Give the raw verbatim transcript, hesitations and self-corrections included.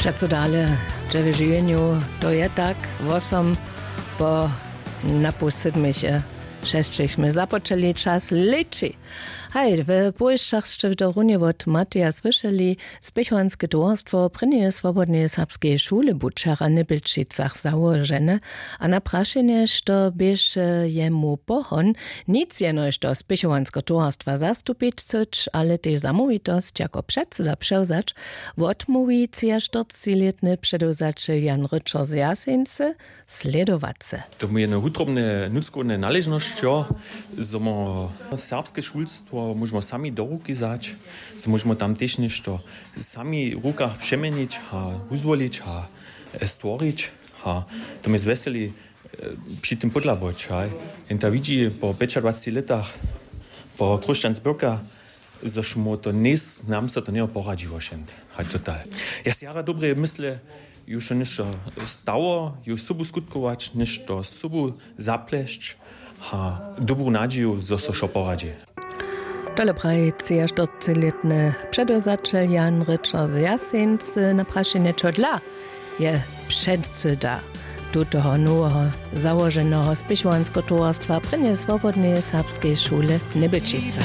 Přeco dale, dźe w žiwjenju, to je tak, wosom po napuł sydmich šesćich smy započeli, čas leći. Haj, w Bójšach sće to runje wot Mateja słyšeli. Spěchowanske towarstwo prěnjeje swobodneje serbskeje šule bu wčera w Nybelčicach załožene, a na prašenje, što běše jemu pohon, nic jenož do spěchowanske towarstwa zastupić chcyć, ale tež zamołwitosć jako předsyda přewzać, wotmołwi třiaštyrcećilětny předewzaćel Jan Ryčer z Jaseńcy. Slědowace. To mu je jedne wutrobne nutřkowne naležnosć, jo, zo mo serbske šulstwo móžemo sami do ruki wzać, zo móžemo tam tež něšto sami w rukach přeměnić a wuzwolić a e, stworić. A to mi zwjeseli při tym pódlaboć, haj. Jen ta widźi po pjećadwaceći lětach, po Christian Zbyrka, zož mu to njejs nam so to njeho poradźiło šent. Haj, total. Ja se jara dobrje mysle, ju so něšto stało, ju sobu skutkować, něšto sobu zaplesć a dobru nadźiju, zo so wšo poradźi. Tole praji třiaštyrcećilětny předewzaćel Jan Ryčer z Jaseńcy na prašenje, čodla je předsyda tutoho noweho załoženeho spěchowanskeho towarstwa prěnje swobodneje serbskeje šule Nybelčica.